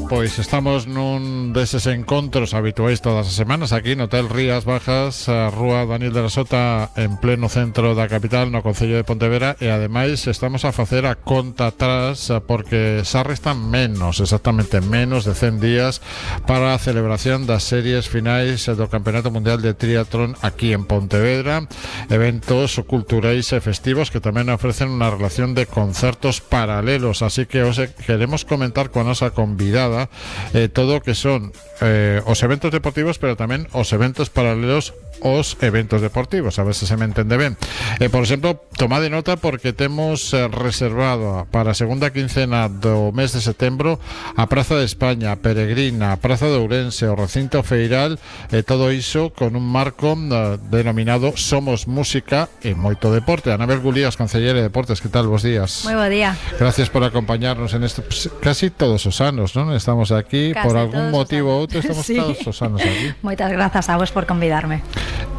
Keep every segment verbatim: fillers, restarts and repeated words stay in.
pois estamos nun deses encontros habituais todas as semanas aquí no Hotel Rías Bajas, a Rúa Daniel de la Sota, en pleno centro da capital, no Concello de Pontevedra, e ademais estamos a facer a conta atrás porque xa restan menos, exactamente menos de cen días para a celebración das series finais do Campeonato Mundial de Triatlón aquí en Pontevedra, eventos culturais e festivos que tamén ofrecen unha relación de concertos paralelos, así que os queremos comentar con a nosa convidada eh, todo o que son eh, os eventos deportivos, pero tamén os eventos paralelos os eventos deportivos, a ver se se me entende ben. Eh, por exemplo, tomade nota porque temos eh, reservado para a segunda quincena do mes de setembro a Praza de España, a Peregrina, a Praza de Ourense, o recinto feiral, e eh, todo iso con un marco eh, denominado Somos Música e moito deporte. Anabel Gulías, concellera de Deportes, que tal? Bos días. Moi bo día. Gracias por acompañarnos en esto, pues, casi todos os anos, non? Estamos aquí, casi por algún motivo ou outro estamos sí. todos os anos aquí. Moitas grazas a vos por convidarme.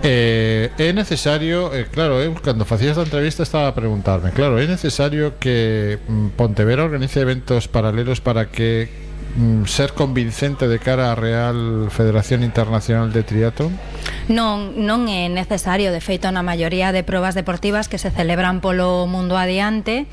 Eh, é necesario, eh, claro, eu cando facía esta entrevista estaba a preguntarme, claro, é necesario que mm, Pontevedra organice eventos paralelos para que mm, ser convincente de cara á Real Federación Internacional de Triatlón? Non, non é necesario, de feito na maioría de probas deportivas que se celebran polo mundo adiante,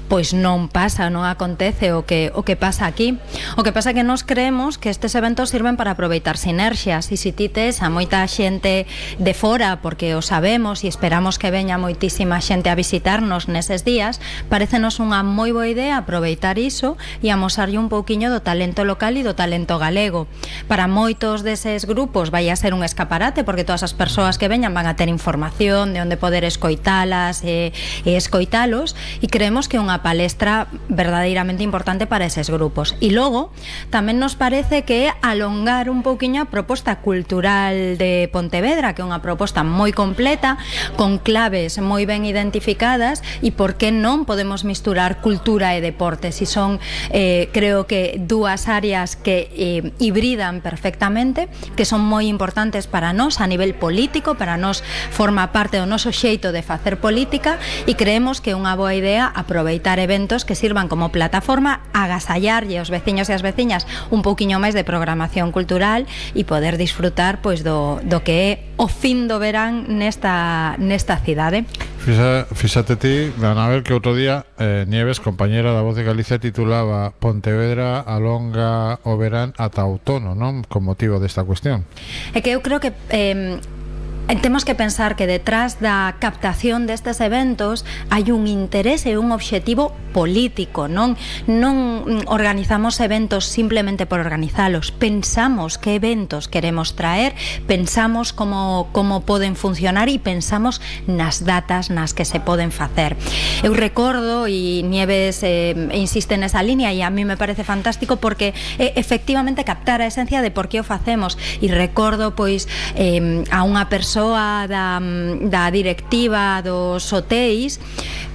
pois non pasa, non acontece o que o que pasa aquí. O que pasa é que nós creemos que estes eventos sirven para aproveitar sinerxias, e se ti tes a moita xente de fora, porque o sabemos e esperamos que veña moitísima xente a visitarnos neses días, parecenos unha moi boa idea aproveitar iso e amosarlle un pouquiño do talento local e do talento galego. Para moitos deses grupos vai a ser un escaparate, porque todas as persoas que veñan van a ter información de onde poder escoitalas e, e escoitalos, e creemos que é unha palestra verdadeiramente importante para eses grupos. E logo, tamén nos parece que é alongar un pouquiño a proposta cultural de Pontevedra, que é unha proposta moi completa, con claves moi ben identificadas, e por que non podemos misturar cultura e deportes, e son, eh, creo que dúas áreas que eh, hibridan perfectamente, que son moi importantes para nós a nivel político, para nós forma parte do noso xeito de facer política, e creemos que é unha boa idea aproveitar eventos que sirvan como plataforma, agasallarlle aos veciños e as veciñas un pouquiño máis de programación cultural e poder disfrutar pois do, do que é o fin do verán nesta, nesta cidade. Fixa, fíxate ti, Anabel, que outro día eh, Nieves, compañera da Voz de Galicia, titulaba Pontevedra alonga o verán ata outono, non? Con motivo desta cuestión. É que eu creo que eh, temos que pensar que detrás da captación destes eventos hai un interés e un obxectivo político, non non organizamos eventos simplemente por organizalos, pensamos que eventos queremos traer, pensamos como, como poden funcionar e pensamos nas datas nas que se poden facer. Eu recordo, e Nieves eh, insiste nesa línea, e a mí me parece fantástico porque eh, efectivamente captar a esencia de por que o facemos, e recordo pois eh, a unha persoa Da, da directiva dos hotéis,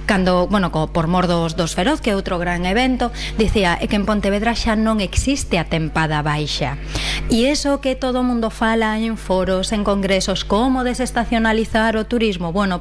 cando, bueno, co, por mor dos, dos Feroz, que é outro gran evento, dicía é que en Pontevedra xa non existe a tempada baixa, e eso que todo o mundo fala en foros, en congresos, como desestacionalizar o turismo, bueno,